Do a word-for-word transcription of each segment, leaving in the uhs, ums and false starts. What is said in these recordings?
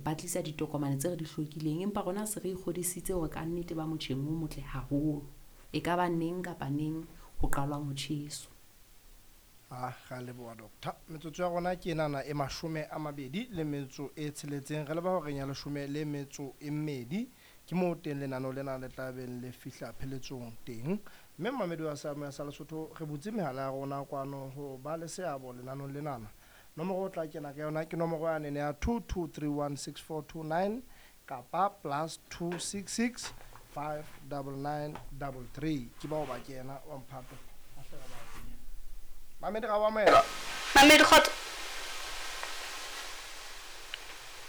ba tlisa ditokomane tse re di hlokileng, empa rona se re ikgodisitse hore ka nnete ba motjheng o motle haholo. E ka ba neng kapa neng ho qalwang ho tjheswa. Ah, ra leboha doctor. Metsotso ya rona ke enana e mashome a mabedi le metso e tsheletseng. Re leba horeng ya leshome le metso e mmedi. Ke moo teng lenaneo lena le tla beng le fihla pheletsong teng. Mme mmamedi wa Sealemoya sa Lesotho re butse mehala ya rona kwano ho ba le seabo lenanong lenana. Nomoro o tla kena ka yona ke nomoro yane ya two two three one six four two nine kapa plus two six six five double nine double three. Ke bao ba kena wa mphato. Mamedi ga wa moela. Mamedi kgotso.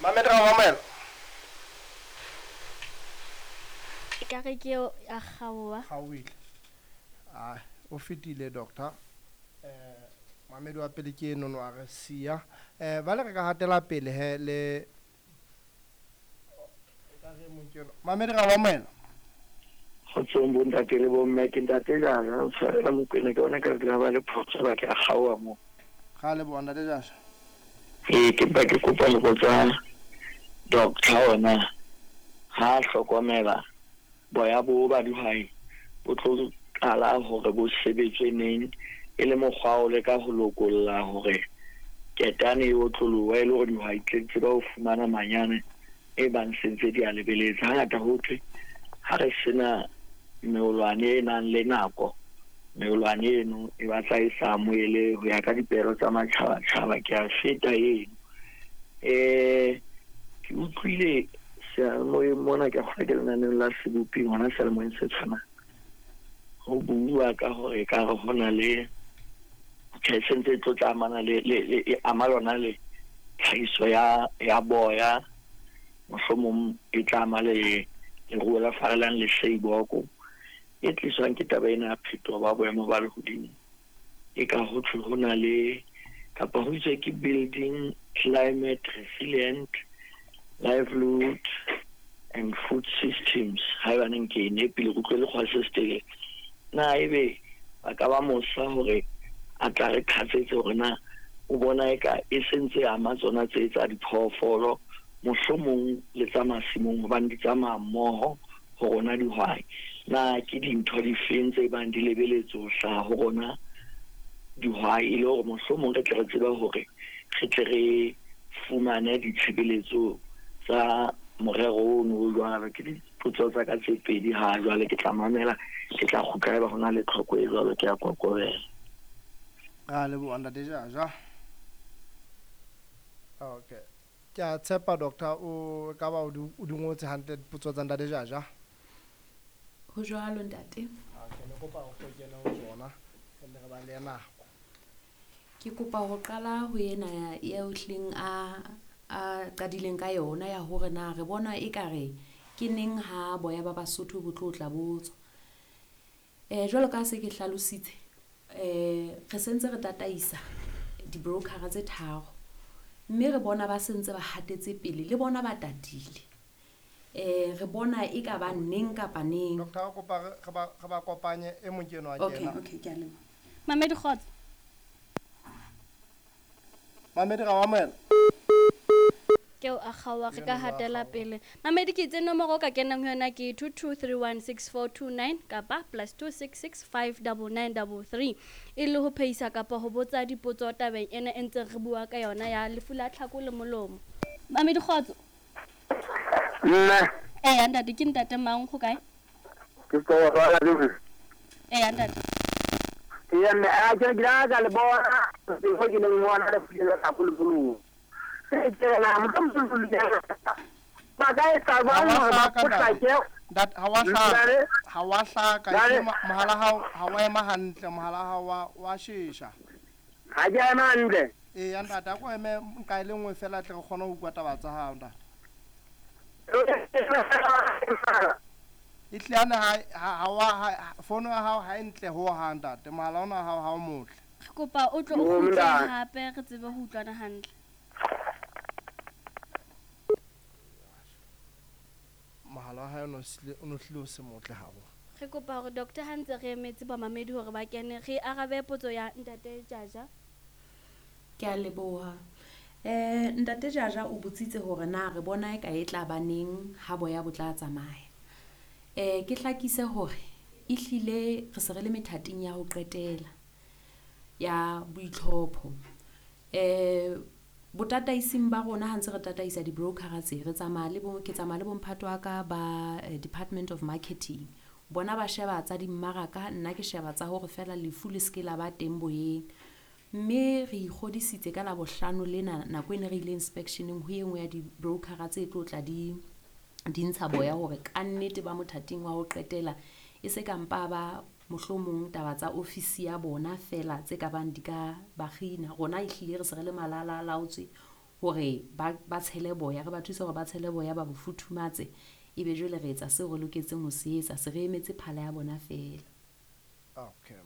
Mamedi ga wa moela. E ka re ke eo a kgaoha. Kgaohile. Ah, o fetile doctor. Eh Mamedi wa pele ke eno a re siya. Eh ba le re ka hatela pele he le e ka re mong ke eno. Mamedi ga wa moela. Kgotsong bo ntate le bo mme, ke ntate Jaja, o tshwarela Mokwena, ke bona ka re ke ba le phoso ba ke a kgaoha mo. Ga le bo ntate Jaja. Ee, ke mpa ke kopa ho botsa doctor ona ha hlokomela boya bo ba dihwai bo tlo qala hore bo sebetswe neng e le mokgwa o leka ho lokolla hore ketane e otloloha e le hore dihwai tle tsebe ho fumana manyane e bang sentse di a lebeletse. Hangata ho thwe ha re sena meolwane e nang le nako, meolwane eno e batla e sa amohele ho ya ka dipehelo tsa matjhabatjhaba. Ke a feta eno. Eh ke utlwile seyalemoyeng mona, ke kgona ke lenaneong la Sebopi hona seyalemoyeng se tshwanang, ho bua ka hore ekare ho na le tjhe se ntse e tlo tla amana le le e ama lona le tlhahiso ya ya boya, mohlomong e tla ama le leruo la farelang le seiboko e tliswang ke taba ena ya phetoho ba boemo ba lehodimo. E ka ho thwe ho na le kapa ho itswe ke building climate resilient livelihood and food systems. Haebaneng ke e nepile, ke utlwe lekgwa se setelele. Na ebe ba ka ba mosa hore a tla re qhatsetse hore na o bona eka e sentse ama tsona tse tsa diphoofolo mohlomong le tsa masimong, hobane di tsamaya mmoho ho rona dihwai. Na ke dintho difeng tse bang di lebeletse ho hlaha ho rona dihwai e le hore mohlomong re tle re tsebe hore re tle re fumane ditshebeletso tsa morero ono o jwalo. Ke dipotso tsa ka tse pedi ha jwale, ke tla mamela, ke tla kgutla haeba ho na le tlhoko e jwalo, ke a kokobela. Ra leboha ntate Jaja. Okay. Ke a tshepa doctor o ka ba o di ngotse hantle dipotso tsa ntate Jaja. Ho jwalo ntate. Okay, ne kopa o kene ho tsona re ba le nako. Ke kopa ho qala ho ena ya ohleng a a qadileng ka yona ya hore na re bona ekare ke neng ha boya ba Basotho bo tlo tla botswa. Eh jwalo ka se ke hlalositse, eh re sentse re tataisa di-broker tse tharo, mme re bona ba sentse ba hatetse pele le bona ba tatile. Eh re bona e ka ba neng kapa neng. Doctor kopa re ba re ba kopanye e mong ke eno a Okay, kena. okay, ke a leboha. Mamedi kgotso. Mamedi ga wa moela. Ke o a kgaoha, re ka hatela pele. Mamedi ke itse nomoro o ka kenang ho yona ke two two three one six four two nine kapa plus two six six five double nine double three e le ho phehisa kapa ho botsa dipotso tabeng ena e ntseng re bua ka yona ya lefu la tlhako le molomo. Mamedi kgotso. Nna. Eh ntate, ke ntate mang go kae? Ke tlo rwala le. Eh ntate. Ke mme a ke ke la ka le bona, ke go ke le ngwana le fulela tlhako le molomo. Ba ka etsa jwang hore ba potlake? Ntate, ha wa hlaka, ha wa hlaka, ke mohala hao ha wa ema hantle, mohala hao wa wa shesha. Ha ke ema hantle. Ee ntate, a ko eme nka e le nngwe fela tle re kgone ho utlwa taba tsa hao ntate. E tlane ha ha wa fono ya hao ha e ntle ho hang ntate, mohala ona hao ha o motle. Re kopa o tlo o kgutle hape re tsebe ho utlwana hantle. Mohala wa hae o no hlile o se motle haholo. Re kopa hore doctor ha ntse re emetse bamamedi hore ba kene, re arabe potso ya ntate Jaja. Ke a leboha. Eh ntate Jaja o botsitse hore na re bona e ka e tla baneng ha boya bo tla tsamaya. Eh ke hlakise hore ehlile re se re le methating ya ho qetela ya boitlhopho. Eh botataising ba rona ha ntse re tataisa di-broker tse re tsamaya le bo ke tsamaya le bomphato wa ka ba Department of Marketing. Bona ba sheba tsa dimmaraka, nna ke sheba tsa hore fela lefu le se ke la ba teng boyeng. Mme re ikgodisitse ka Labohlano lena nako e ne re ile inspection-eng ho e nngwe ya di-broker tse tlo tla di di ntsha boya hore kannete ba mothating wa ho qetela e se ka mpa ba mohlomong taba tsa ofisi ya bona fela tse ka bang di ka ba kgina. Rona ehlile re se re le malala a laotswe hore ba ba tshele boya, re ba thuse hore ba tshele boya ba bo futhumatse, ebe jwale re etsa seo re loketseng ho se etsa, se re emetse phala ya bona fela. Okay.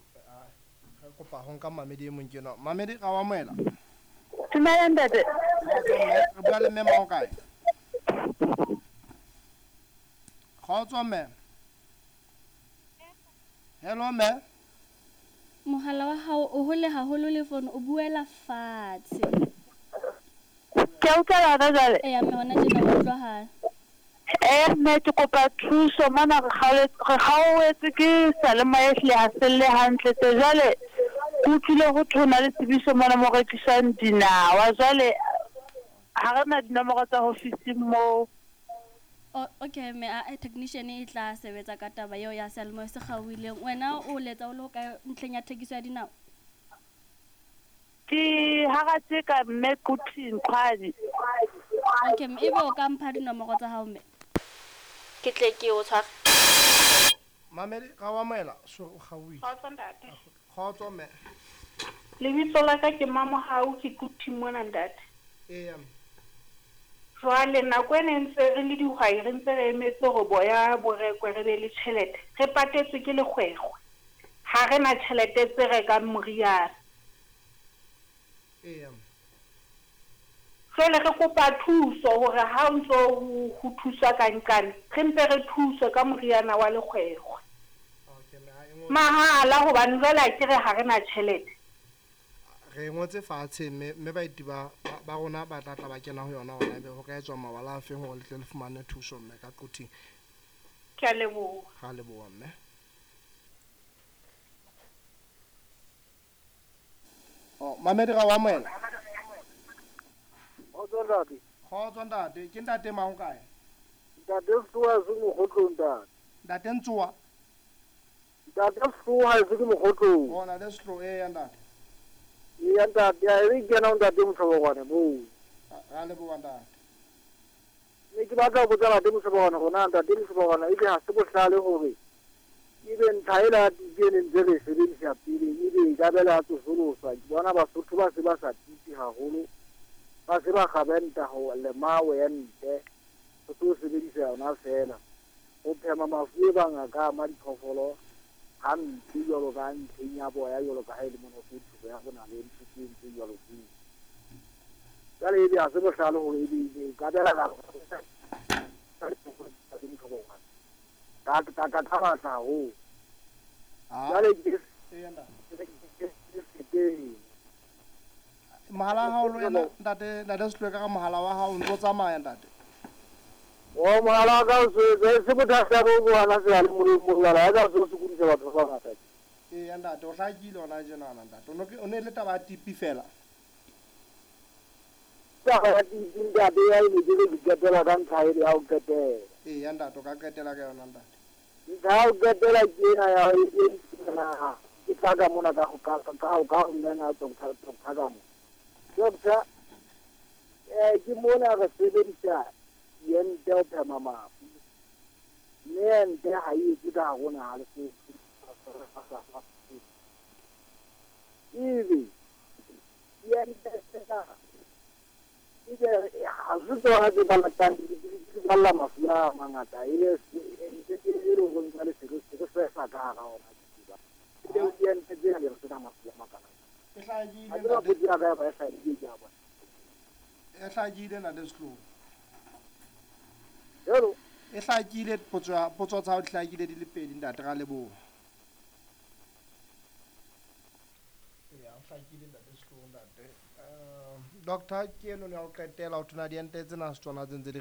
Re kopa ho nka mamedi e mong ke enwa. Mamedi ra o amohela. Dumela ntate. Re bua le mme mang kae? Kgotso mme. Hello mme. Mohala wa hao o hole haholo le phone o buela fatshe. Ke a utlwa hona jwale. Eya mme hona tjena o utlwahala. Eh mme ke kopa thuso mona re kgaoletse re kgaoetse ke seyalemoya ehlile ha se lle hantle tje. Jwale ke utlwile ho thwe ho na le tsebiso mona mo rekiswang dinawa. Jwale ha re na dinomoro tsa ofising moo. O okay mme a technician e tla sebetsa ka taba eo ya seyalemoya se kgaohileng. Wena o letsa o le hokae ntlheng ya thekiso ya dinawa? Ke hara mme Quthing Qhwadi. Okay mme ebe o ka mpha dinomoro tsa hao mme. Ke tle ke o tshware. Mamedi ra o amohela, so o kgaohile. Kgotso ntate. Kgotso mme. Lebitso la ka ke Mamohau, ke Quthing mona ntate. Eya mme. Jwale nako e ne ntse re le dihwai re ntse re emetse hore boya bo rekwe re be le tjhelete. Re patetswe ke lekgwekgwe. Ha re na tjhelete tse rekang moriana. Eya mme. Jwale re kopa thuso hore ha o ntso ho thuswa ka nqane, re mpe re thuswe ka moriana wa lekgwekgwe. Okay mme ha e ngwe. Mahala hobane jwale a ke re ha re na tjhelete. Re ngotse fatshe mme mme baeti ba ba rona ba tla tla ba kena ho yona hona ebe ho ka etswa mawala a feng hore le tle le fumane thuso mme ka Quthing. Ke a leboha. Ra leboha mme. Oh, mamedi ra o amohela. Kgotso ntate. Kgotso ntate, ke ntate mang kae? Ntate Sehloa se Mokgotlong ntate. Ntate Ntsoa. Ntate Sehloa se ke Mokgotlong. Oh, ntate Sehloa, eya ntate. Eya ntate, a re kena ntate Moshobokwane moo. Ra leboha ntate. Ne ke batla ho botsa ntate Moshobokwane hore na ntate Moshobokwane ebe ha se bohlale hore ebe ntlha ela ya tipi e ne ntse re e sebedisa pele ebe e ka bela ya tsosoloswa. Ke bona Basotho ba se ba sa tipi haholo, ba se ba kgabenta ho lema ente ho tlo sebedisa yona fela ho phema mafu e bang a ka ama diphoofolo hampe jwalo ka ntlheng ya boya jwalo ka ha e le mona ho ya bona le ntho tse ntse jwalo tseo. Jwale ebe ha se bohlale hore ebe e ka bela ka ka ka ka ka matla haholo. Jwale ke Mohala wa hao le wena ntate, ntate Sehloe ka mohala wa hao o ntso tsamaya ntate. O mohala wa ka o se se bothata bo bona seyalemoyeng mohala wa ka o se sokodisa batho ba bangata. Eya ntate, o hlakile hona tjenana ntate. O no ke o ne le taba ya tipi fela. Taba ya tipi ntate ya e ne ke re qetela ka ntlha ele ya ho qetela. Eya ntate, o ka qetela ka yona ntate. Ntlha ya ho qetela ke ena ya e ke tla ka mona ka ho ka ka ka ho nna doctor doctor ka mo. Doctor eh ke mona re sebedisa ente ho phema mafu. Mme ente ha e etse ka rona ha le se. Ebe ente tsena ebe ha se tsona tse balatang di balla mafu a mangata e ente e re go ntse le se se se sa ka hara ona. Ebe ente tsena le re mafu a makana. E hlakile Ha ke ba ntate. potse ya ka ya ba e hlakile ke a bona. E hlakile ntate Sehloe. Hello. E hlakile potso ya potso tsa hao di hlakile di le pedi ntate, ra leboha. Eya, o hlakile ntate Sehloe ntate. Eh Doctor, ke eno ya ho qetela ho thona diente tsena se tsona tse ntse di